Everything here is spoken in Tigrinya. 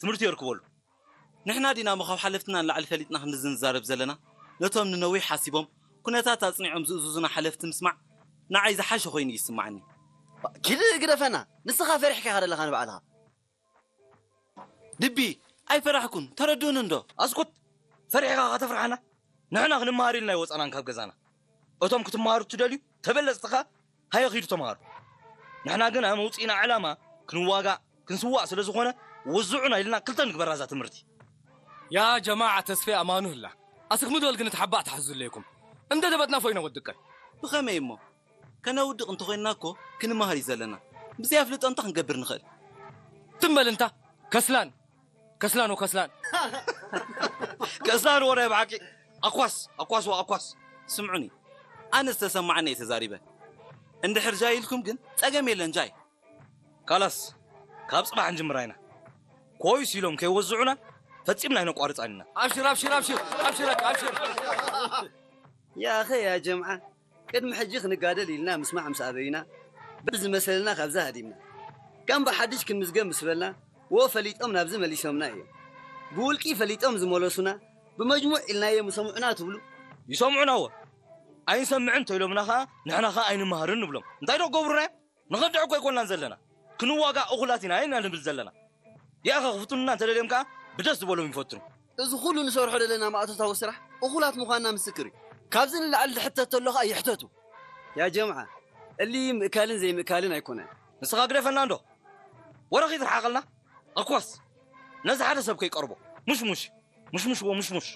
ትምህርቲ የርክበሉ። ንሕና ዲና እሞ ካብ ሓለፍትና ንላዕሊ ፈሊጥና ክንዲ ዝንዛረብ ዘለና? ነቶም ንነዊሕ ሓሲቦም ኩነታት ኣጽኒዖም ዝእዝዙና ሓለፍቲ ምስማዕ ንዓይ ዝሓሸ ኮይኑ ይስማዓኒ። ኪድ ግደፈና፣ ንስኻ ፈሪሕካ ኢኻ ዘለኻ ንባዕልኻ። ድቢ፣ ኣይፈራሕኩን፣ ተረድኡኒ እንዶ። ኣስኩት! ፈሪሕኻ ከተፍርሓና? ንሕና ክንመሃር ኢልና ኣይወጻናን ካብ ገዛና። እቶም ክትመሃሩ እትደልዩ ተበለጽትኻ ሃየ ኺዱ ተምሃሩ። ንሕና ግን ኣመውጺእና ዕላማ ክንዋጋእ ክንስዋእ ስለ ዝኾነ ወዝዑና ኢልና ክልተ ንግበራ እዛ ትምህርቲ። ያ ጀማዓ ተስፌ ኣማኑህላ ኣስኽሚ ዶል ግን ተሓባእ ተሓዙለይኩም እንደ ደበጥና ፎይነ ወድቀ። ብኸመይ እሞ? ከነውድቕ እንተኾይንና እኮ ክንመሃር እዩ ዘለና። ብዘይ ኣፍልጦ እንታይ ክንገብር ንኽእል? ትም በል እንታ ከስላን ከስላን ወከስላን። ከስላን ወረ ብሓቂ ኣኳስ ኣኳስ ወኣኳስ። ስምዑኒ፣ ኣነ ዝተሰማዓኒ እየ ተዛሪበ። እንድሕር ጃይ ኢልኩም ግን ጸገም የለን ጃይ። ካላስ ካብ ጽባሕ ንጅምራ ኢና። ኮይስ ኢሎም ከይወዝዑና ፈጺምና ኣይነቋርጻን ኢና። ኣብሽር ኣብሽር ኣብሽር ኣብሽር ኣብሽር። ያኸ ያ ጀምዓ ቅድሚ ሕጂ ክንጋደል ኢልና ምስማዕ ምስ ኣበይና በዚ መሰልና ካብዚ ሃዲምና ከም ብሓድሽ ክንምዝገብ ምስ በልና ወ ፈሊጦም ናብዚ መሊሶምና እዮም። ብውልቂ ፈሊጦም ዝመለሱና ብመጅሙዕ ኢልናዮም ይሰምዑና ትብሉ? ይሰምዑና ወ ኣይንሰምዕን እንተኢሎምና ኸዓ ንሕና ኸዓ ኣይንመሃርን ንብሎም። እንታይ ዶ ክገብሩና እዮም? ንኸድዕ እኮ ኣይኮንናን ዘለና። ክንዋጋእ እኹላት ኢና ኢና ንብል ዘለና። ያኸ ክፍትኑና እንተደልዮም ከዓ ብደስ ዝበሎም ይፈትኑ። እዚ ኩሉ ንሰርሖ ዘለና ማእቶታዊ ስራሕ እኹላት ምዃንና ምስክር እዩ። ካብዚ ንላዕሊ ዝሕተት ተሎ ከዓ ይሕተቱ። ያ ጀምዓ፣ እሊ ምእካልን ዘይምእካልን ኣይኮነን። ንስኻ ግደፈና እንዶ ወረ ኺትርሓቐልና። ኣኳስ ነዚ ሓደ ሰብ ከይቀርቦ። ሙሽሙሽ ሙሽሙሽ ወሙሽሙሽ።